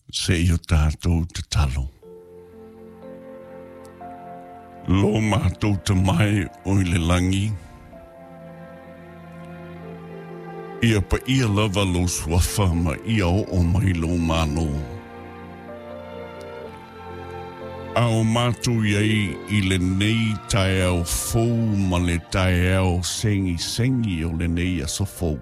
Se i o tātou tatalo. Lo mātou tamai o i le langi, ia pa ia lava lo suafa ma ia o o mai lo malo. A o mātou iai i le nei tae au fou ma le tae au sengi sengi o le nei aso fou.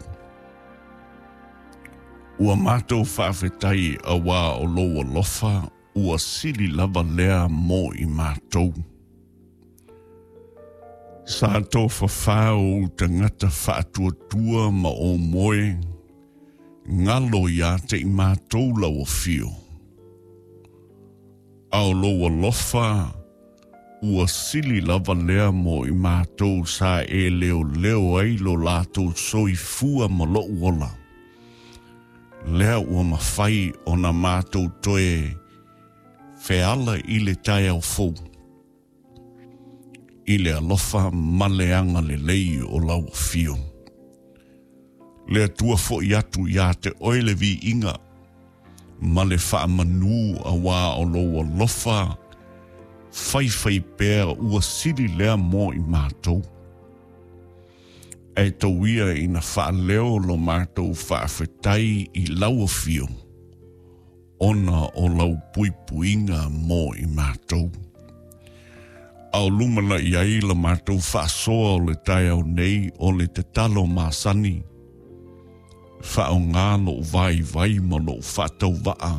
Ua mātou whaawhetai a wā o lou alofa ua sili lava lea mō i mātou. Sa tō whawhā o tangata whaatuatua ma o moe, ngalo i a te i mātou lau o whio. A o lou alofa, ua sili lava lea mō i mātou sa e leo leo ai lo lātou soifua ma lou ola. Lea ua mawhai o na mātou toe wheala i le tae au fou. I le alofa ma le anga le lei o lau whio. Le atua fo i atu i a te oele vi inga, ma le whaamanu a wā o lou alofa, whai whai pēr ua sili lea mō i mātou. E tau ia ina whaaleo lo mātou whaawhetai i lau whio, ona o lau puipuinga mō i mātou. Au lumana i ai la mātou whaasoa o le tae au nei o le te talo māsani. Whao ngā lo vai vai ma lo whaatau waa.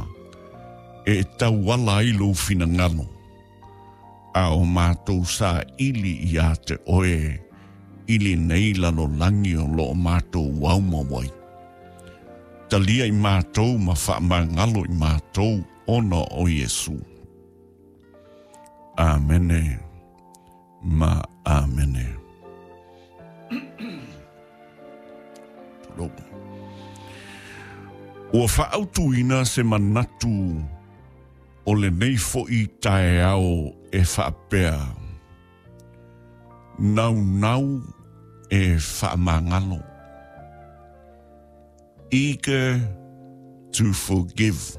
E tau ala ai lo whina ngalo. A o mātou sa ili i a te oe, ili nei lalo langi o lo o mātou wauma wai. Talia i mātou ma whaamangalo i mātou ona o Iesu. Amene ma amene. Ua whaautuina se manatu o le nei foi tae ao e whaapea. Nau nau e whaamangalo. Eager to forgive.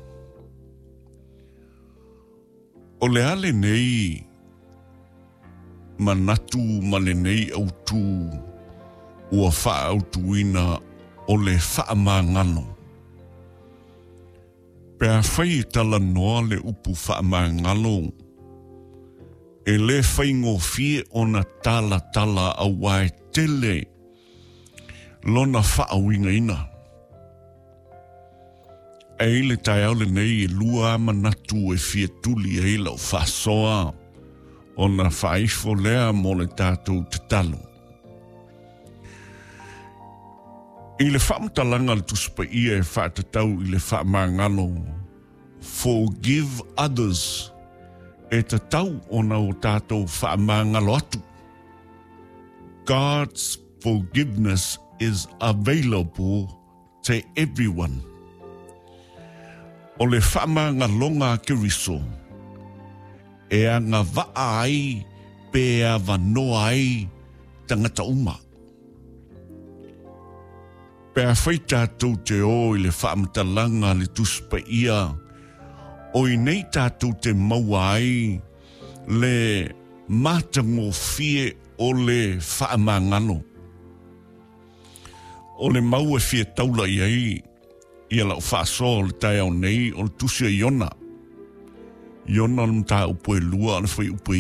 O le ale nei manatu ma le nei autu ua whaautuina o le whaamangalo. Pe a whai e tala noa le upu whaamangalo, e le whaingofie o na tala tala au wae tele lona whaawinga ina. E i le tae au le nei e lua manatu e fia tuli e ila o whasoa o na whaifo lea mo le tātou te talo. I le whaamatalanga le tusipa ia e whaatatau i le whaamangalo, forgive others, e tatau ona o tātou whaamangalo atu. God's forgiveness is available to everyone. O le whaamangalonga a Keriso, e anga waa ai pe a vanoa ai tangata uma. Pe a whai tātou te o i le whaamatalanga le tusipa ia, o i nei tātou te maua ai le mātangofie o le whaamangalo. O le maua fia taula i ai, ia lau whaasoa o le tae au nei, o le tusi a Iona. Iona le mata upu e lua, le whai upu